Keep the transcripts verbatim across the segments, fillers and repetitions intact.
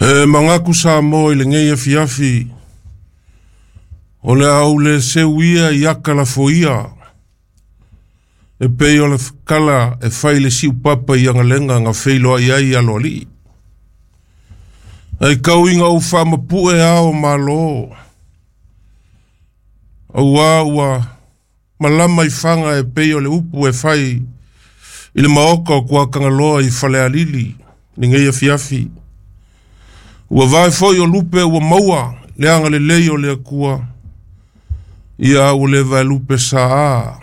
E mangaku sa mo i le ngei afiafi o le au le seuia i aka la foia e pei o le kala e fai le siu papa i angalenga nga feilo ai ai alo ali. Ai kau inga u whaamapue ao malo. Aua ua malama i whanga e pei o le upu e fai i le maoka o kua kangaloa i falealili ni ngei afiafi. Ua vai foi o lupe ua maua le anga le lei o le akua. Ia ua le vai lupe saa.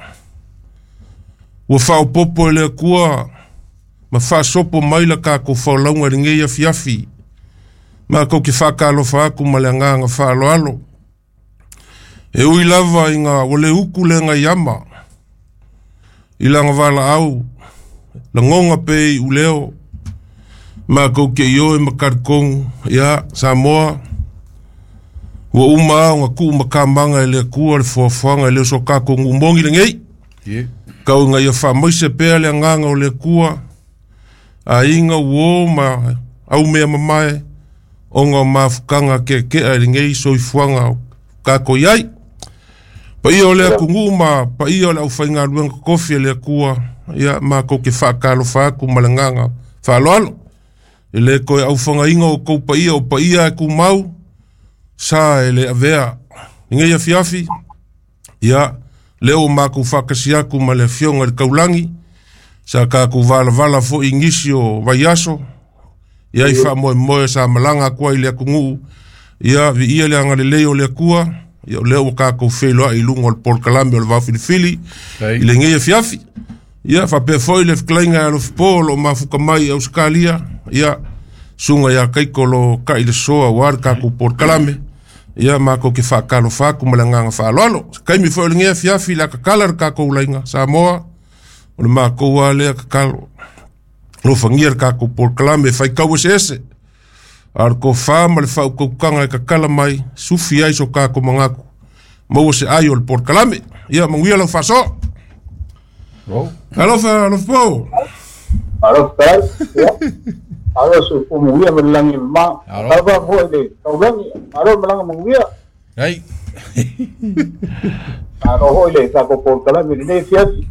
Ua whaopopo e le akua ma whaasopo mai la kako whaolauga i ngei afiafi. Ma kau ke whakalofa aku ma le anganga whaaloalo. E ui lava inga ua le uku le ngai ama. I langa wala au, la ngonga pe i uleo. Ma kau ke ioe makarikong, ia Samoa. Ua uma au nga kuu makamanga e le akua le fuafuaga e le oso kako ngumongi le ngei. Yeah. Kau inga ia whaamaise pea le anganga o le akua. A inga uo ma au mea mamae. Onga o mafukanga ke kea e ngei soifuaga o kako iai. Paia o le atunuu ma paia o le aufaigaluega kofi e le Atua, ia makou ke faakalofa atu ma le agaga faaaloalo. E lē toe aufagaina o kou paia o paia e tumau, sa e le avea. I nei afiafi, ia lea ua makou faatasi atu ma le afioga i le taulagi, sa tatou valavala foʻi i nisi o vaiaso, ia i faamoemoe sa malaga atu ai i le atunuu, ia viia le agalelei o le Atua, ia o lea ua tatou feiloai i luga o le polokalame o le vaofilifili Ai. i lenei afiafi. Ia faapea foi le fetalaiga e alofipo o loo mafuta mai i Ausetalia, ia suga iā Kaiko lo kai le soa auā le tatou polokalame, ia makou ke faakalofa atu ma le agaga faaaloalo. Se taimi foi o lenei afiafi le a tatala le tatou laiga Samoa, o le makou a lea tatalo. Alofagia le tatou polokalame e faitau eseese. A o le tofā ma le faautautaga e tatala mai, sufi ai so tatou manatu, maua se ai o le polokalame. Ia manuia lau faasoa. Oh. Alofa alofa. Alo tai. Ya. Alo su kumuia malangi ma. Alo. Alo foi le taulangi. Alo malanga manguia. Ai. Alo hoi le ta ko polokalame le fiasi.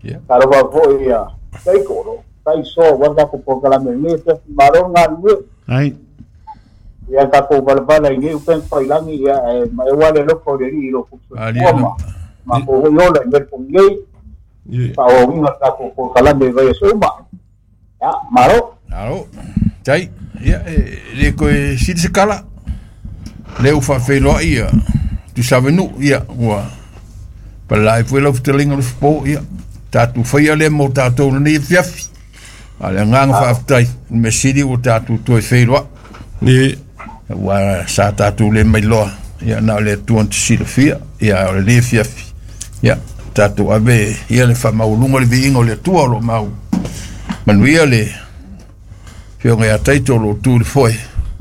Yeah. Alo va foi ya. Tai ko tai so wa ta ko polokalame le fiasi maro ngalue. Ai. Ia ta ko balabala i upen failangi ia e ma e wale loko le ri lo ku. Ali ala. Ma ko hoi ola i mer pongei. Ie. Pa o winga ta ko polokalame vai suma. Ya, maro. Alo. Tai. Ia e le koe sili se kala. Le u faafeiloai ia Tusavenu ia ua palai foi lau fetalaiga o le fofo ia tatou faia lea mo tatou lenei afiafi. A le agaga faafetai le mea sili ua tatou toe feiloai. Ie. Ua sa tatou le mailoa ia na o le Atua na te silafia ia o lenei afiafi. Ia tatou ave ia le faamaualuga o le viiga o le Atua o loo mau manuia le afioga ia Taito o loo tu i le foe.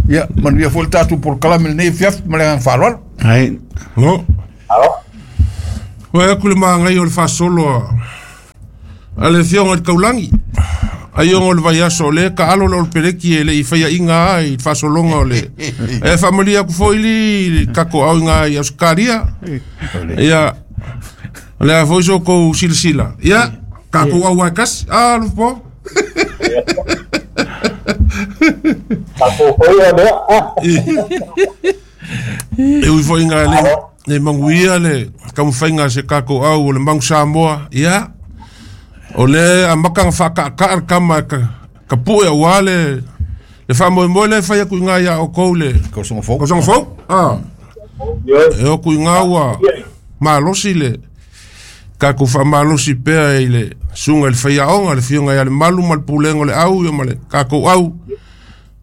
Ia manuia foi le tatou polokalame lenei afiafi ma le agaga faaaloalo. Ai. No. Alo. Ua aku le magai o le faasolo a a le afioga i le taulagi. Ai o le vaiaso o le ka alo le o le peleki e le i faiaʻiga ai i le faasologa o le e faamalia aku foi li le kako au inga i Ausetalia. Ia o le a foi so kou silasila. Ia tatou au ai kasi. A alofa. Ta ko hoi o le. Ah. E ui foi inga le le manguia le taumafaiga a se tatou au o le Magu Samoa. Ia o le amataga faakaʻakaʻa le kama e ka ka pue auā le le faamoemoe le fai atu iga iā outou le Tausaga fou. tausaga fou. A Yo. e oku iga ua malosi le tatou faamalosi pea i le suga i le faiaoga le afioga ia le Malu ma le pulega o le au ia ma le tatou au.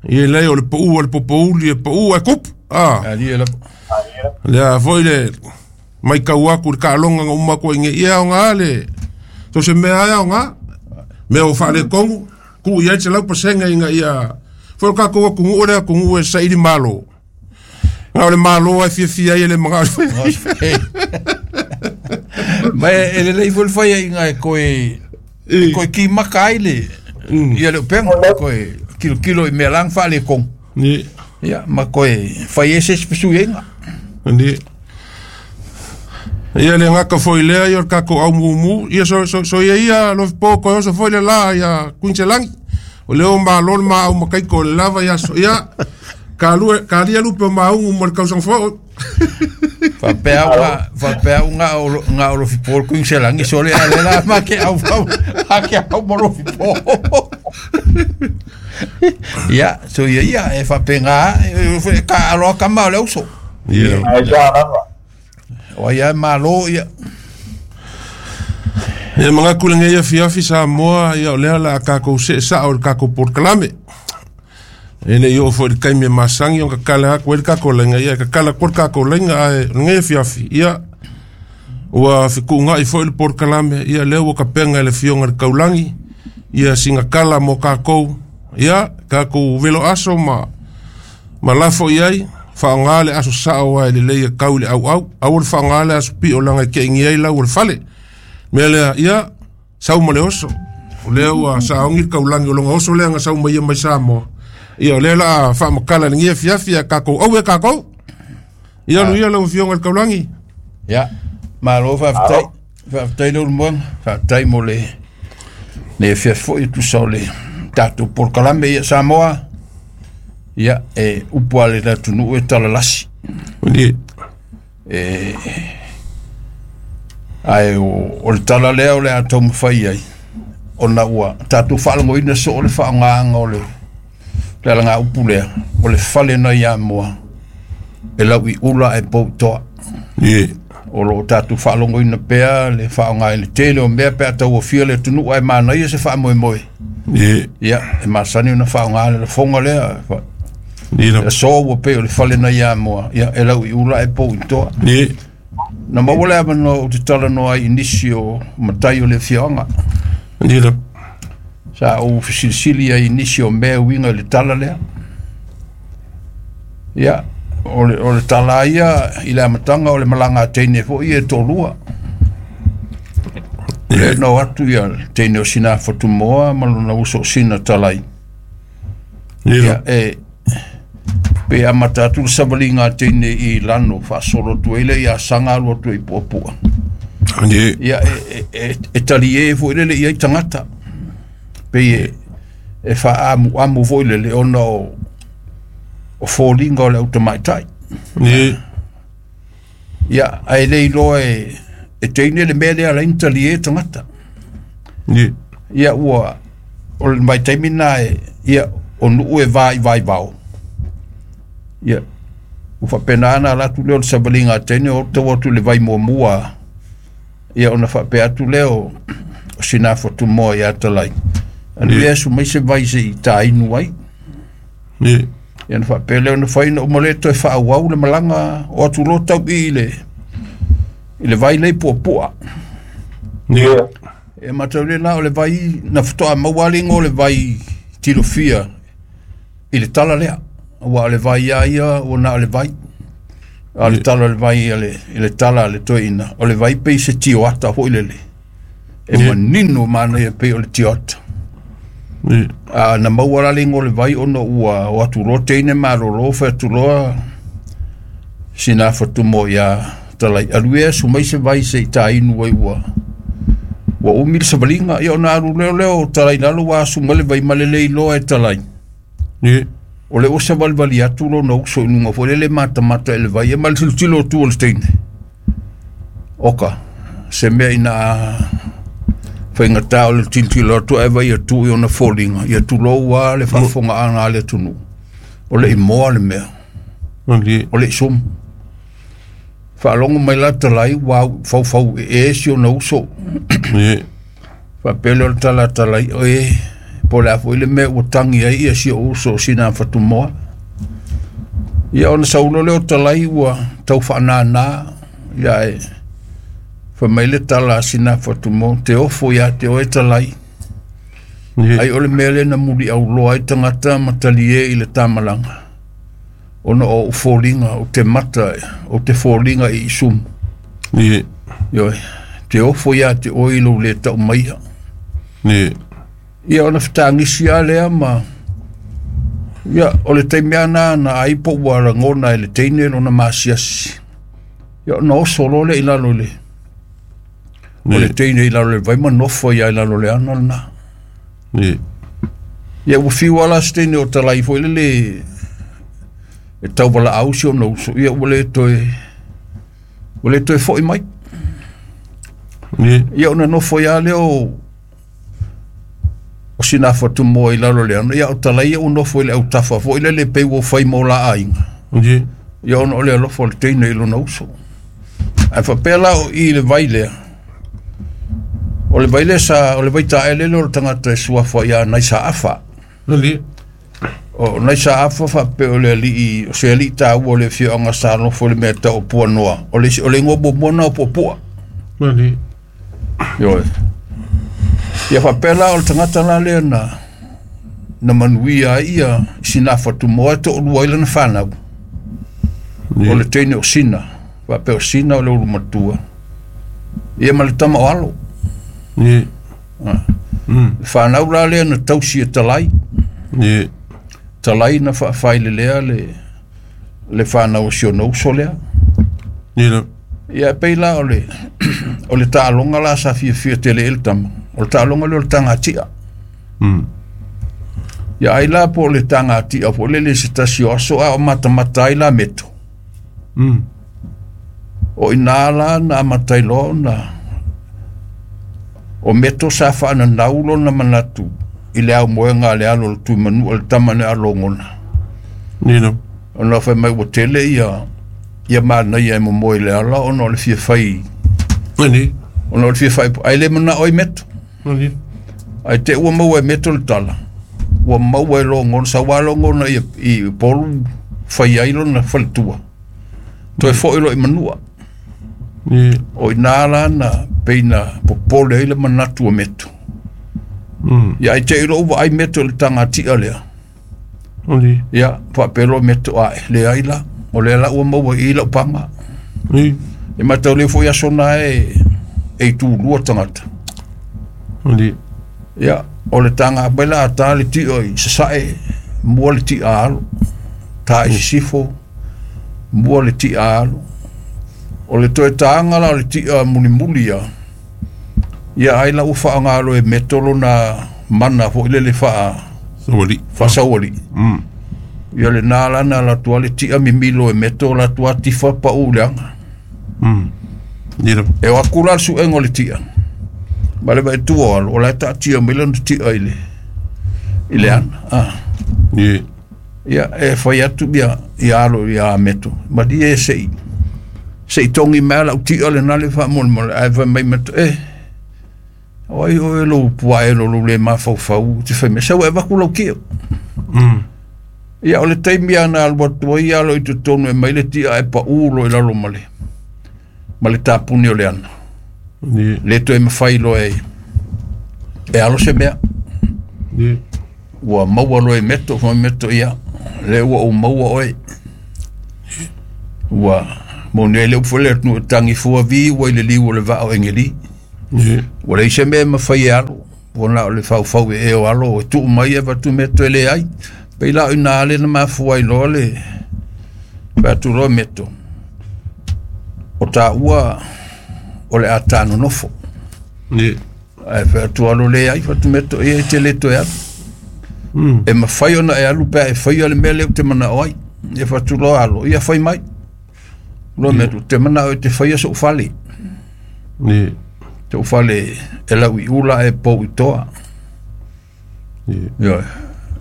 Ia lea o le paʻu a le popouli e paʻu ae kupu. A Ali e lava. lea foi le maitau atu i le taaloga na uma atu ai nei ia aoga le so se mea ae aoga mea o faaletonu tuu i ai le selau pasega ina ia foi o tatou atunuu le atunuu e saili malo. Na o le malo ai fiafia ai e le magao. Ma e lelei foi le faiaʻiga e toe Koe ki maka ai le ia le upenga koe kilo kilo i mea lang wha le kong. Ni. Ia ma koe whai ese se inga. Ni. Ia le ngaka foi lea ia o kako au mumu ia so so so ia ia lo po ko so foi le la ia kuinselangi. O leo ma lol ma au makai ko lava ia so ia ka lu ka lia lupe ma ungu mo le kausang fo. Fa pea unga fa pea unga o nga o lofi po kuinselangi so le ale la ma ke au au a ke au mo lofi po. Ia so ia ia e fa penga ka alo ka ma le uso. Ia. Ai ja lava. O ia malo ia. Ia mga kulenga ia fiafi sa moa ia o lea la kako se sa o kako porklame. Ene io fo le kaime masangi o kakala ko el kako lenga ia kakala ko kako lenga ai ngai fiafi ia ua fikunga i fo le porklame ia leo ka penga le fionga le kaulangi ia singa kala mo kako ia kako velo aso ma malafo iai whaangale aso sao ai le leia kau le au au au le whaangale aso pi o langa ke ingi ai lau le fale mea lea ia sau ma le oso o lea ua saongi kau langi o longa oso lea nga sau mai mai Samoa ia o lea la whaamakala le ngia fiafia kakou au e kakou ia lu ia lau fionga le kaulangi. Ia malo whaaftai whaaftai le ulumoanga whaaftai mo le le fiafo i tusa o le tātou porkalame ia Samoa. Ia e upu ale la tunu e talalasi. Ni. E ai o o le tala lea o le atau mawhai ai. O na ua tātou whaalango ina so o le whaangaanga o le le alanga upu lea o le fale na ia moa e lau i ula e pou toa. Ni. O lo tātou whaalango ina pea le whaanga i le tele o mea pea tau o le tunu ai mana ia se whaamoe moe. Ni. Ia e masani una whaanga le fonga lea. Ni la so ua pe o le fale na ia moa ia e lau i ula e pou i toa. Ni. Na maua lea mano o te tala noa i nisi o matai o le fioanga. Ni la. Sa o fisilisili ai nisi o mea uinga i le tala lea. Ia o le, o le tala ia i le amatanga o le malanga a teine fo ia e tōlua. Le no atu ia teine o sina whatumoa ma lona uso o sina talai. Ia e pe amata atu le savalinga teine i lano whaasolo tuele ia sanga alua tue i puapua. Ia e, e, e tali e fo ile le ia i tangata. Pe e, e whaamu amu fo ile le ona o o fōlinga o le autamaitai. Ia ai le iloa e e teine le mea lea lain tali e tangata. Ia ua o le mai taimi nā e ia o nuu e vai vai vao. Ia ua whapena ana latu leo le savalinga teine o tau atu le vai muamua. Ia ona whapea atu leo o sina whatumoa i atalai. Anu ia su mai se vai se i tā inu ai. Ia na whapea leo na whaina o maleto e whaawau le malanga o atu lo tau i le i le vai lei puapua. Yeah. E matau le la o le vai na whatoa maualingo le vai tilofia i le tala lea. Ua o le vai ia ia o na o le vai. A le tala o le vai i le, i le tala le toina. O le vai pei se tioata hoi lele. E yeah. Manino mana ia pei o le tioata. Yeah. A na maualingo le vai ono ua o atu teine malolo wha atu loa sina whatumo ia talai. Alu ea sumai se vai se i tā inu ai ua. Ua umi le savalinga ia ona alu leo leo talai lalo wa sumale vai malele i loa e talai. Yeah. O le osa valivali atu lo na uso inunga fo le mata mata ele vai e mal tilotilo tu o le teine. Oka se mea ina whaingata o le tilotilo atu e vai atu i ona fōlinga. Ia tulou a le whaafonga ana le tunu. O le imoa le mea. O le isumu. Whaalongo mai la talai wa whau e e si o na uso. Whapele o le tala talai o e po le afo ile mea ua tangi ai ia si o uso o sina whatumoa. Ia ona saulo leo talai ua tau whaanana ia e whamaile tala sina whatumoa te ofo ia te oe talai. Ai o le mea le na muli au loa ai tangata matali e i le tamalanga. Ona o fōlinga o te mata o te fōlinga i isumu. Ie. Ioi, te ofo ia te oe lo le tau maia. Ni. Ia ona fetagisi a lea ma ia o le taimi ana na ai po ua lagona e le teine lona masiasi. Ia ona oso loa lea i lalo i le o le teine i lalo i le vai ma nofo ai i lalo o le ana lena. Ni. Ia ua fiu lava la se teine o talai foi lele e tauvalaau si ona uso, ia ua le toe ua le toe fo'i mai. Ni. Ia ona nofo ai lava lea o o sina fatumoa i lalo o le ana, ia o talai ia ua nofo i le autafa foi lele pei ua fai mo la aiga. Ni. Ia ona o le alofa o le teine i lona uso. Ae faapea la o i le vai lea, o le vai lea sa, o le vai taele lea o le tagata e suafa ia Naisaafa. Ni. O Naisaafa faapea o le alii, o se alii taua o le afioaga sa nofo i le mea tau o Puanoa. O le, o le igoa muamua lena o Puapua. Ni. Ioe. Ia faapea la o le tagata la lea na na manuia ai ia sina fatumoa e toalua ai lana fanau. O le teine o Sina, faapea o Sina o le ulu matua. Ia ma le tama o Alo. Ni. Mm. Le fanau la lea na tausi e Talai. Ni. Talai na faafailelea le le fanau o si ona uso lea. Ni la. Ia e pei la o le o le taaloga la sa fiafia tele ai le tama. O le taaloga lea o le tagatia. Mm. Ia ai la po o le tagatia foi lele se tasi o aso a o matamata ai la meto. Mm. O ina la na amata ai loa ona o meto sa faananau lona manatu i le aumoega a le alo o le Tuimanua le tama na alogona. Ni la. Ona fai mai ua tele ia ia manaia e momoe i le ala ona o le fia fai Ni. ona o le fia fai ai le manao i meto. Ni. Ai te ua maua e meto le tala. Ua maua e logona sa ua logona i i Upolu fai ai lona faletua. Toe fo'i loa i Manua. Ni. O ina la na pei na popole ai le manatu o meto. Mm. Ia ai te i lou vaai meto i le tagatia lea. Ni. Ia faapea loa meto ae leai la. O lea la ua maua i i lau paga. Ni. E matau lea foi aso na e e itulua tagata. Ni. Ia o le taga mai la a ta le ti'a i Sasae mua le ti'a alo. Ta i Sisifo mua le ti'a alo. O le toe taga la o le ti'a mulimuli ia. Ia ai la ua faagalo e meto lona mana foi lele faa Sawali. faasaualii. Mm. Ia lena la na alu atu ai le ti'a mimilo e meto o latou atifa pa'u i le aga. Mm. Ni la. E o aku la le su'ega o le ti'a. Ma le vaetua o alo, o la e taatia mai lana ti'a i le i le ana. Ah. Ni. Ia e fai atu ia ia alo ia meto. Malie e se'i se'i togi mai la'u ti'a lena le faamolemole ae fai mai meto e o ai oe lou puae lo lou le mafaufau te fai mai sau e avaku lau ti'a. Mm. Ia o le taimi ana alu atu ai alo i totonu e mai le ti'a e pa'u loa i lalo ma le ma le tapuni o le ana. Ni. Le toe mafai loa e e alo se mea. Ni. Ua maua loa e meto fai meto ia lea ua ou maua oe. Ua moni ai le upu foi le atunuu e tagifua vi ua i le liu o le vaa o Egeli. Ni. Ua leai se mea e mafai e alo. Ua na o le faufau e e o alo e tuu mai e avatu meto e leai. Pei la o ina le na mafua ai loa le fai atu loa meto. O taua o le a tanonofo. Ni. Ae fai atu alo leai fai atu meto ia e te le toe alu. Mm. E mafai ona e alu pe a e faia le mea lea ou te manao ai. E fai atu loa alo, ia fai mai. Loa meto, te manao e te faia so'u fale. Ni. So'u fale e lau i ula e pou i toa. Ni. Ioe.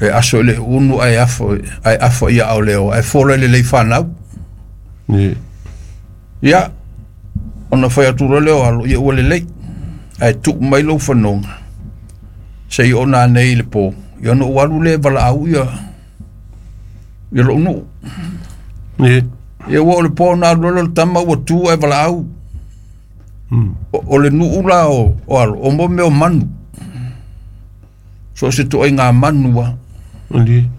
E aso i le unu ae afo ae afo ia ao leo ae fola i le lei fanau. Ni. Ia ona fai atu loa lea o alo ia ua lelei. Ae tuu mai lou fanoga se'i ona anei i le pō. Ia ona ou alu lea e valaau ia ia lo'u nuu. Ni. Ia ua o le pō na alu loa le tama ua tu ae valaau. Mm. O, o le nuu la o, o alo, o mo mea o manu. So o se toaiga manu a. Ni.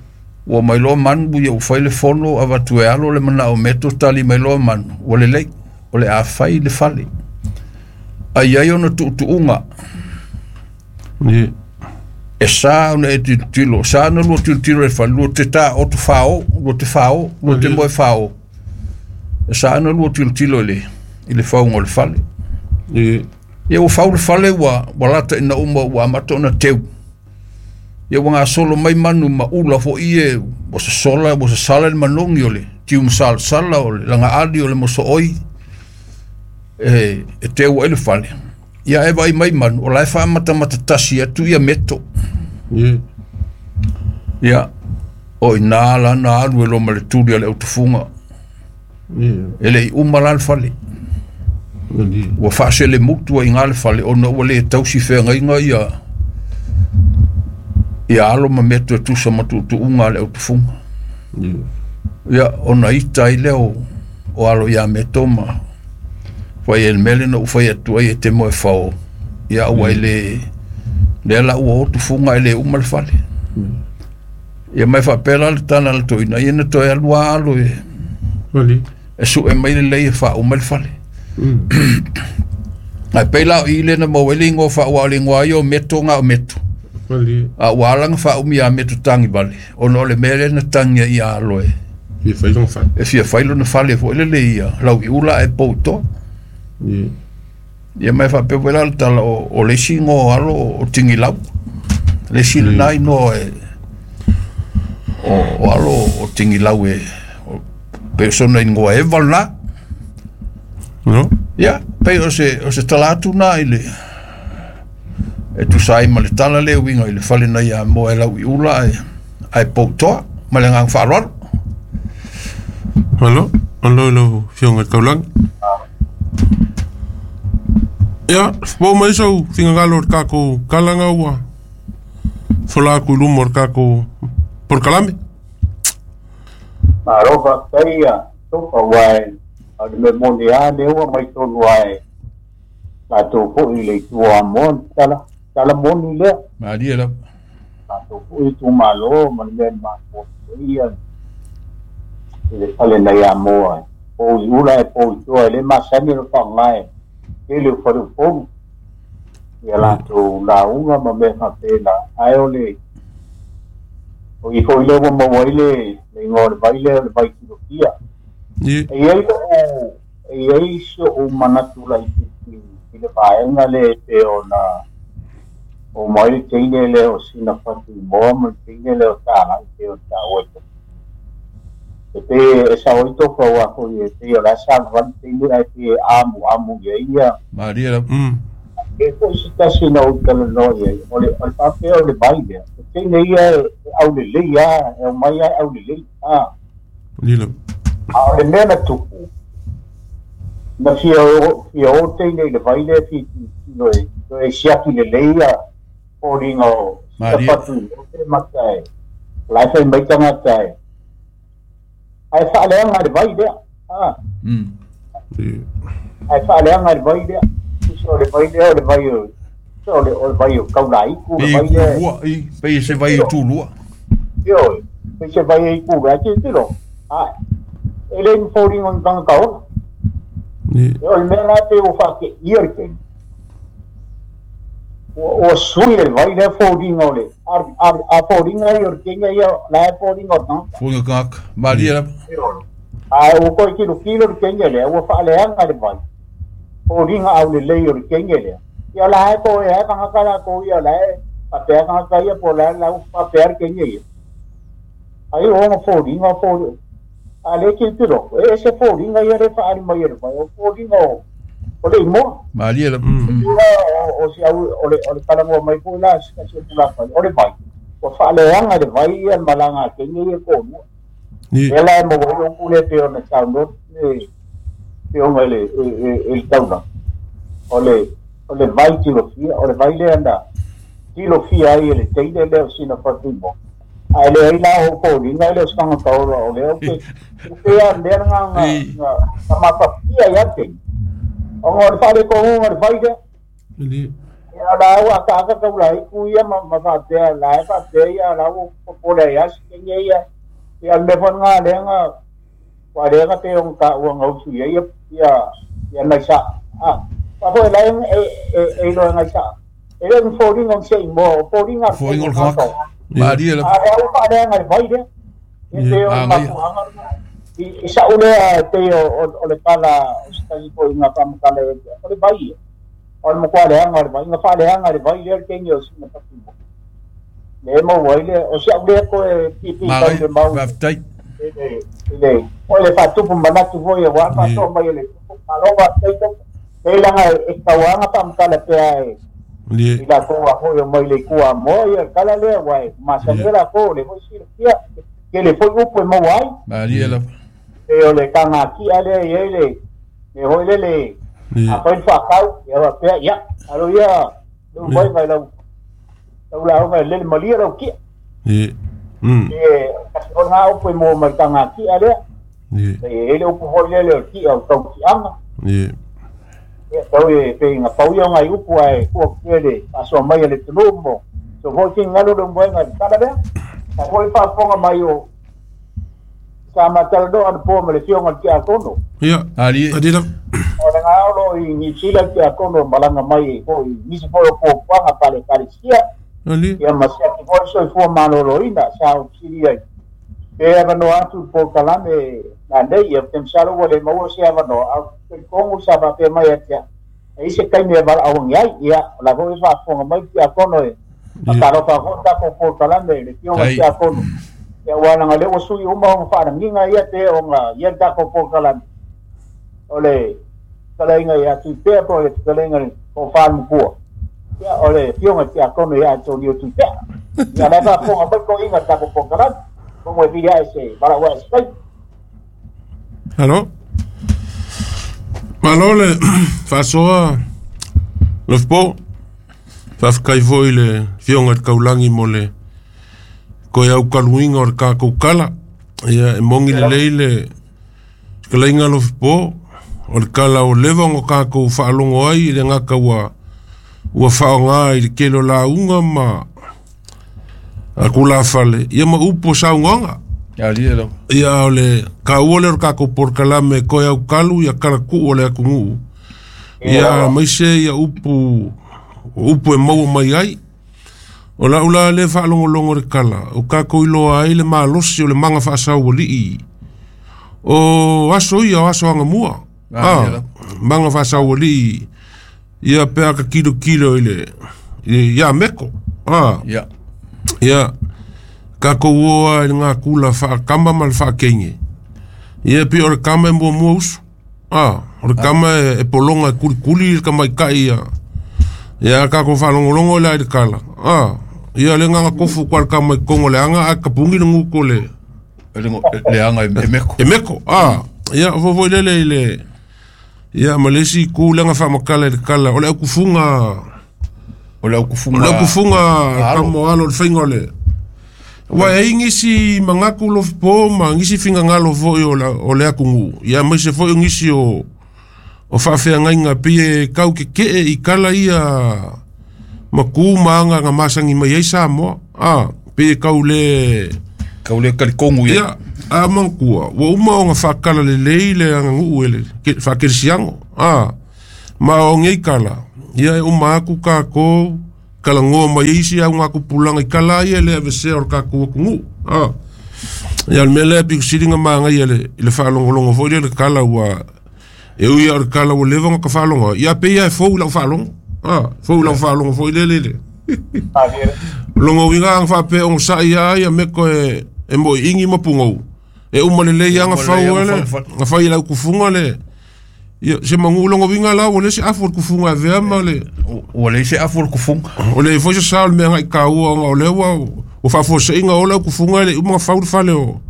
Ua mai loa manu ia ua fai le fono avatu e alo le manao meto tali mai loa manu. Ua lelei, o le a fai le fale. Ai ai ona tuutuuga. Ie. E sa ona e tilotilo sa na lua tilotilo i le fale lua te taoto fao lua te fao lua te moe fao e sa na lua tilotilo i le i le fauga o le fale. Ie. Ia ua fau le fale ua ua lata ina uma ua amata ona teu. Ia ua gasolo mai manu ma ula fo'i e ua sasola ua sasala le manogi o le tiumasalasala o le lagaali o le moso'oi e e teu ai le fale. Ia e vaai mai manu o la e faamatamata tasi atu ia meto. Ie. Ia o ina lana alu e loma le tuli a le autufuga. Ie. E le'i uma la le fale. Malie. Ua faaselemutu ai gā le fale ona ua lē tausi feagaiga ia ia alo ma meto e tusa ma tu'utu'uga a le autufuga. Ie. Ia ona ita ai lea o o alo iā meto ma fai e le mea lea na ou fai atu ai e te moe fao ia ua e lē lea la ua o tufuga e lē uma le fale. Ia mai faapea la le tala a le toina ia na toe alu lava alo e Malie. e su'e mai lelei e faauma le fale. Mm. Ae pei la o i lea na maua ai le igoa faauā o le igoa ia o meto ga o meto. Malie. A ua ala ona faaumi iā meto tagivale ona o le mea lea na tagia ia alo e Fia fai lona fale. e fia fai lona fale fo'i lele ia lauiula ae pou toa. Ie. Ia mai faapea foi la le tala o, o le isi igoa o alo o tigilau. Le isi lenā igoa e o, o alo o tigilau e o, pe o sona igoa eva lenā. No. Ia, pei o se, o se tala atu nā i le e tusa ai ma le tala le uiga i le fale na ia moa e lauiula ae, ae poutoa ma le agaga faaaloalo. Malo. Malo i lau Afioga i le Taulagi. Ia, fofo mai sau finagalo o le tatou kalaga ua fola atu i luma o le tatou polokalame. Malo faafetai ia tofa ua e o le mea moni lava lea ua mai tonu ae tatou fo'i i le itu o Amoa na tala tala moni lea. Malie lava. Tatou fo'i itumālō ma le mea na mafua ia i le fale nai Amoa e pou i ula e pou i toa e lē masani ona faaaogā e tele o faleupolu ia latou lauga ma mea faapena ae o le o i fo'i lea ua maua ai le le igoa o le vai lea o le vai tilofia. Ie. E iai lo'u e iai so'u manatu laitiiti i le vaega lea e pei ona o mai le teine lea o sina fatuimoa ma le teine lea o talai pei ona taua i e pei e sao ai tofa ua fo'i e pei o le a salivali teine ae pei e amuamu iai ia. Malie lava. Mm. E fo'i se tasi na ou talanoa iai o le o le faapea o le vai lea o teine ia e e aulelei a e aumai a e aulelei a. Malie lava. A o le mea na tupu na fia o fia o teine i le vai lea fi tilotilo e toe siaki lelei ia foliga o sina Malie. fatuimoa pe mata e o la e fai mai tagata e ae faaleaga le vai lea a. Mm. Ie. Ae faaleaga le vai lea tusa o le vai lea o le vai o tusa o le o le vai o kaulaiku le Pei vai lea tulua i pei se vai tilo tulua. ioe pei se vai e iku ae tilotilo ae e le ni foliga o ni tagata ola. Ie. E o le mea la pe ua faate'ia le taimi ua ua sui le vai lea foliga o le a a a foliga ia o le kenya ia la e foliga o le tagata. Fuga kaka. Malie Ie. lava. Ae ua toe kilokilo le kenya lea ua faaleaga le vai foliga aulelei o le kenya lea ia la e toe ae tagata latou ia la e faapea tagata ia po o le a lau faapea le kenya ia ai o ona foliga foli a le tilotilo e ese foliga ia le faaali mai e le vai o foliga o o le imoa. Malie lava. Mm. Mm. Ua o o si au o le o le talagoa mai fo'i la se kasi o tulafale o le vai ua faaleaga le vai ia le malaga a kenya ia toalua. Ie. Lea la e maua ai lou pule pei ona saunoa le fioga i le e e e le taulaga o le o le vai tilofia o le vai lea na tilofia ai e le teine lea o sina fatuimoa ae leai la o foliga e le o se tagata ola o lea o ke o pea mea lagā ga I ga ga matafia iā teine ona o le faaletoguga o le vai lea. Malie. Ia la ua akaaka taulaiku ia ma ma faapea la e faapea ia la ua popole ai asi kenya ia ia le mea foi lagā lea ga ua lea ga pei ona taua gausi ai ia ia ia nai sa'a a faafoi la e e e iloa e nai sa'a e E le foliga o se igoa o foliga foliga o le tagata malie lava a o faaleaga le vai lea e pei o le mafuaaga i sa'u lea e pei o le tala o se tasi fo'iga faamatala o le vai ia o le makualeaga o le vai ga faaleaga le vai lea le taimi o sina patimo le maua ai lea o si a'u lea koe pipi tau le mau faafetai ile o le faatupu manatu foi auā faasoa mai e le tupu malo faafetai topo e laga e tauaga faamatala pea e i latou a foi o mai le ikua Amoa ia kala lea uae masani lakou le foi silafia kele foi upu e maua ai malie lava e o le kagaki'a lea iai le le hoi le le afai le faakau ia faapea ia alo ia lou mai lau lau lauga e lele malia lau ki'a e kasi o lagā upu e mua mai le kagaki'a lea e le upu foi lele o le ki'a o le tauki'aga ia tau e peiga pau ia o gai upu ae kuakuia le faasoa mai a le atunuu mo so foi finagalo le umaega i le tala lea sa foi faafofoga mai o sa matalanoa anapoa ma le fioga le tiakono ia alie ali lava o lagā o loo i Niusila le tiakono malaga mai foi nisi foi o puapuaga palekalisia ali ia ma siaki foi le soifua malōlōina sa o fesili ai pe avanoa atu le polokalame lanei ia te masalo ua le maua se avanoa a telikogu sa faapea mai atia e i se taimi e valaauagi ai ia o la foi faafofoga mai le tiakono e faatalofa foi tatou polokalame le fioga le tiakono ia ua laga lea ua sui uma ona faalagiga ia pe ona ia le tatou polokalame o le fetalaiga ia Tuipea po o le fetalaiga le tofalemapua ia o le fioga tiakono ia Antonio Tuipea ia la faafofoga mai toiga le tatou polokalame mo e vili ae se valaau ae se taimi. Alo malo le faasoa Lofipo faafetai foi le fioga i le kaulagi mo le koe aukaluiga o le tatou kala ia e mogi lelei le fetalaiga Lofipo o le kala o leva ona tatou faalogo ai i le gata ua ua faaaogā i le tele o lauga ma atulafale ia ma upu o saunoaga alie lava ia o le kaua lea o le tatou polokalame koe aukalu ia kalatuu o le atunuu ia maise ia upu upu e maua mai ai o lau la le faalogologo le kala o tatou iloa ai le malosi o le maga faasaualii o aso ia o aso agamua malie a lava maga faasaualii ia pe a ka kilokilo i le ia meko a ia ia tatou oa i le gakula faakama ma le faakeige ia pe o le kama e muamua usu a o le kama e, e pologa e kulikuli le tamaita'i ia ia tatou faalogologo la i le kala a ia le gaga kofu kua le kama i kogo le aga ae kapugi le guko le le leaga e meko e meko a ia fofoi lele i le ia ma le isi itu lega faamatala i le kala o le aukufuga o le o le aukufuga aukufuga alo kamo alo le faiga o le ua e ai nisi manatu Lofipo ma nisi finagalo foi o, la, o le atunuu ia maise foi o nisi o o faafeagaiga pei e kau keke'e i kala ia ma ku ma aga ga masagi mai ai Samoa a pei e kau le kau le kalikogu ia ia a manatua ua uma ona faakala lelei le aganuu e le faakelesiago a ma o nei kala ia e uma aku takou kalagoa mai ai isi augatupulaga i kala ia e le avesea o le tatou atunuu a ia o le mea lea pikusiliga magaia le i le faalogologo foi lea le kala ua e ui o le kala ua leva ona ka faalogo ia pei ia e fou i lau faalogo a fou i lau faalogo foi lele le logo uiga aga faapea ona sa'i a ia meko e e mo'i'igi ma pugou e uma lelei e aga uma fau lelei aga ele fau le fale ga fai i lau kufuga le ia se magu'u logo uiga la ua le se afu o le kufuga e avea ma le ua leai se afu o le kufuga o le foi se sa o le mea agai kāua ona o lea ua ua faafuase'iga o lau kufuga e le uma ga fau le fale o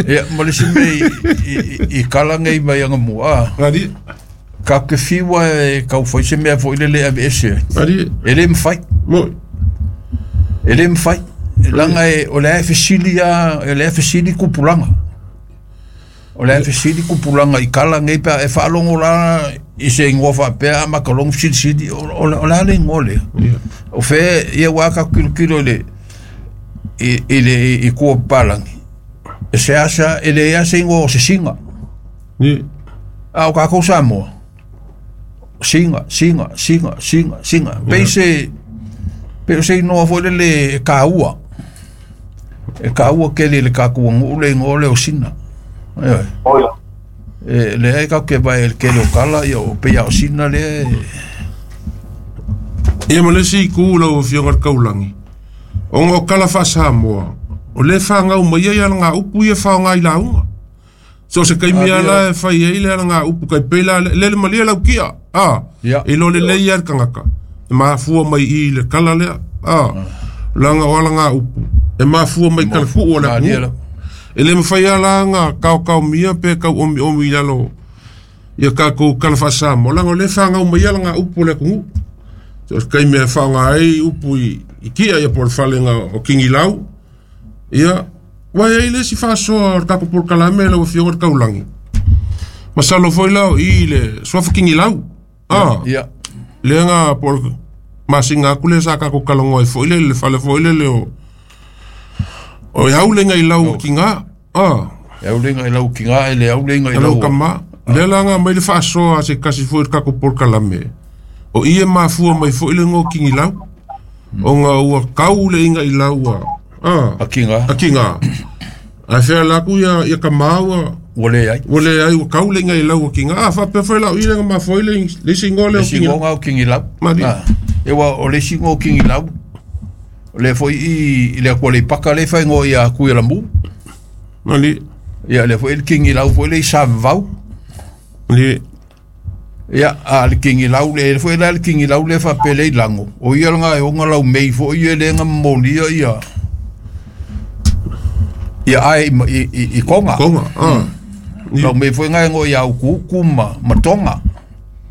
ia ma le isi mea i i kala nei mai agamua a ali ka ke fiua e kau fai se mea foi lele aveese ai ali e le mafai mo e le mafai laga e o le ae fesili a e le ae fesili kupulaga o le ae fesili kupulaga i kala nei pe a e faalogo la i se igoa faapea a makalogo fesilisili o o le a le igoa lea ia o fe ia ua ka kilokilo i le i i le i kua papalagi e se asa e leai a se igoa o se siga ia a o kākou Samoa Singa singa singa singa singa pei se pe se igoa foi lele e kāua e kāua kele i le kakou agu'u le igoa lea o Sina ioe e leai tatou te vaai i le tele o kala ia o pei a o Sina lea e Ia ma le isi itu lau Afioga i le Taulagi, ona o kala faa-Samoa, o lea e fagau mai ai alagaupu ia e faaaoga i lauga. So o se taimi lava la e fai ai le alagaupu tai pei la le le malie lau kia, a, e iloa lelei lava le tagata, e mafua mai i i le kala lea, a, leaga o alagaupu e mafua mai talatuu o le atunuu. E le mafai lava la ona taotaomia pe tauomiomi i lalo ia tatou kala faa-Samoa, leaga o lea e fagau mai ai alagaupu o le atunuu. So o se taimi e faaaoga ai upu i, i kia ia po o le falega o Kigilau, ia, ua i ai le isi faasoa o le tatou polokalame lau Afioga i le Taulagi. Masalo foi la o i i le suafa Kigilau, a, ia lea na po o le masina atu lea sa tatou talanoa ai foi lele, le fale foi lele o o e aulega i lau tiga, a, e aulega i lau tiga e le aulega i lau lau tama. Lea la na aumai le faasoa a se tasi foi i le tatou polokalame, o i e mafua mai foi le igoa o Kigilau, ona ua tau le iga i lau a, a, a tiga a tiga. Ae fea la atu ia, ia tama ua, ua leai ua leai ua tau le iga i lau a tiga. A, faapea foi la o i le na mafua ai le, le isi igoa lea le o Kigilau. isi igoa o Kigilau Mali. a e ua o le isi igoa o Kigilau o lea foi i i le atua Aleipata lea e faaigoa ia Tuialamu Mali. ia lea foi le Kigilau foi le i Savavau Mali. ia a le Kigilau le foi la le Kigilau le faapea le i lago o ia laga e oga laumei foi ia lea na momolia ia ia ae i, i, i, i Konga Konga, a. laumei foi na e goa ia Ukuuku ma, ma Tonga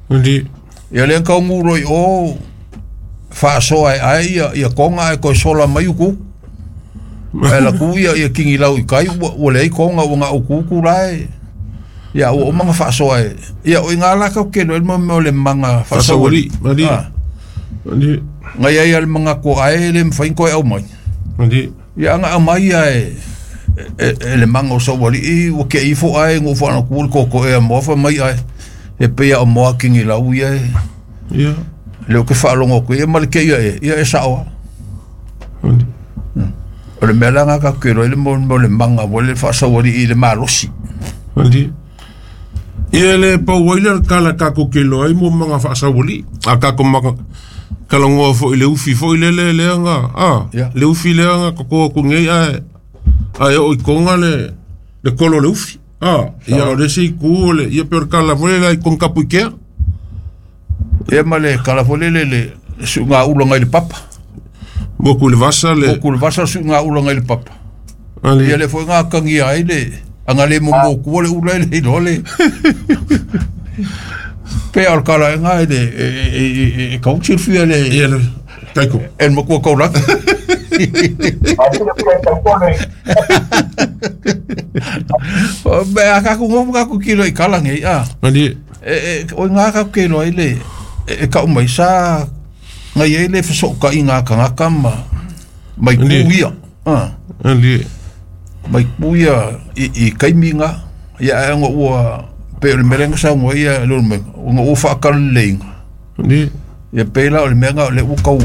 Mali. ia lea na taugū i o faasoa e ae ia, ia Konga ae toe sola mai Ukuuku ae laku ia, ia Kigilau i kai ua, ua leai Konga ua na Ukuuku la e ia ua uma na faasoa e ia o iga la kau kelo e le mea o le maga Faasauali. faasauali Mali. ah Mali. ngai ai a le maga ko ae le mafai ona toe aumai Mali. ia aga aumai ia e e, e le maga o sauali'i ua ke'i ifo ae gou faanaku le koko'e a moa faimai ae e pei a o moa Kigilau ia e Ia. le o ke faalogo atu ia ma le keia e ia e sa'o a Mali. o le mea la ga tatou ke iloa ai le mo mo le maga mo le faasauali'i i le malosi Mali. Ia le pau ai le kala tatou ke iloa ai mo maga faasauali'i. A tatou maga talanoa foi i le ufi foi lele lea na, a, Ia. le ufi lea na toto atu nei ae, ae oo i Konga le, le kolo o le ufi. A, ia o le isi itu o le, ia pe o le kala foi lele ai Konga Kapuikea. ia ma le kala foi lele le su'ugaulaga i le papa Moku i le vasa le, o kulevasa su'ugaulaga i le papa ali, ia le foi ga akagia ai le aga le momokua le ula e le iloa le pe a o le kalaega e le e e e e kau silafia le ia le, taiko. e le makua kaulagi me a kakou gofu kakou kilo i kala nei a Ali, e e o iga kakou ke iloa ai le e e ka'u mai sa ngai ai le feso'oka'iga a kagaka ma mai ku Ali. ia a ali, mai ku ia i i kaimi ga ia ae ona ua pe o le mea lea na saunoa ai ia le mea ona ua faakalaleiga ali, ia pei la o le mea ga o le ua kau